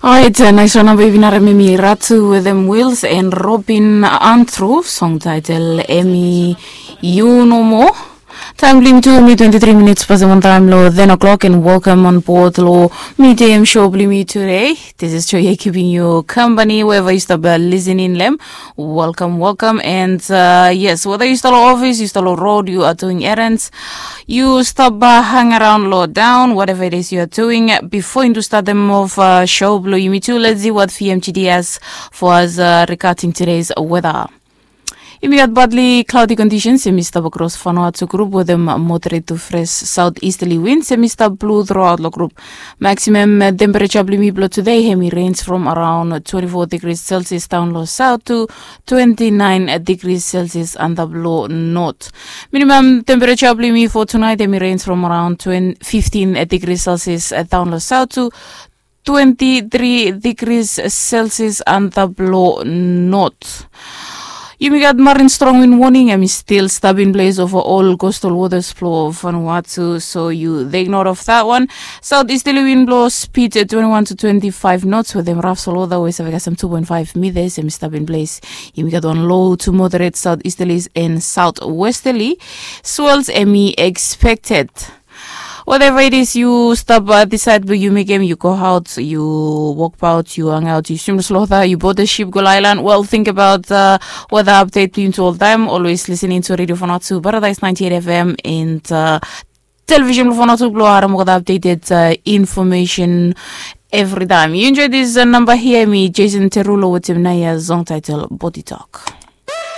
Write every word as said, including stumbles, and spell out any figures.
Orait, nais wan namba i bin harem em i Ratu wetem Wils and Robin Antru, song taitel em i You No More. Taem blong yumi tu em i twenti tri minits pasem wan taem long ten o'clock, and welcome on board long Midem Show blong yumi today. This is Joy keeping you company wherever you stop listening long em. Welcome, welcome, and uh, yes, whether you start long office, you start long road, you are doing errands, you stop uh, hang around low down, whatever it is you are doing. Before you start them off uh, show blong yumi tu, let's see what V M G D has for us uh, regarding today's weather. Yumi gat badli cloudy conditions em i stap across Vanuatu group wetem moderate to fresh south easterly winds em i stap blow throughout long group. Maximum uh, temperature blong yumi blong today em i range from around twenty-four degrees Celsius down long south to twenty-nine degrees Celsius antap long north. Minimum temperature blong yumi for tonight em i range from around twenty, fifteen degrees Celsius uh, down long south to twenty-three degrees Celsius antap long north. Yumi gat marine strong wind warning em i still stap in place over all coastal waters blong Vanuatu, so you take note of that one. South easterly wind blow speed uh, twenty-one to twenty-five knots wetem rough swell water wey save kasem two point five meters em i stap in place. Yumi gat wan low to moderate south easterlies and south westerly swells em i expected. Whatever it is you stop uh, decide blong you mekem, you go out, you walk about, you hang out, you swim the slaughter, you board the ship, go island. Well, think about uh, weather update blong you to all time. Always listening to Radio Vanuatu, Paradise ninety-eight F M, and uh, television blong Vanuatu blong harem all the updated uh, information every time. You enjoy this uh, number here, me Jason Terulo with him naya song title Body Talk.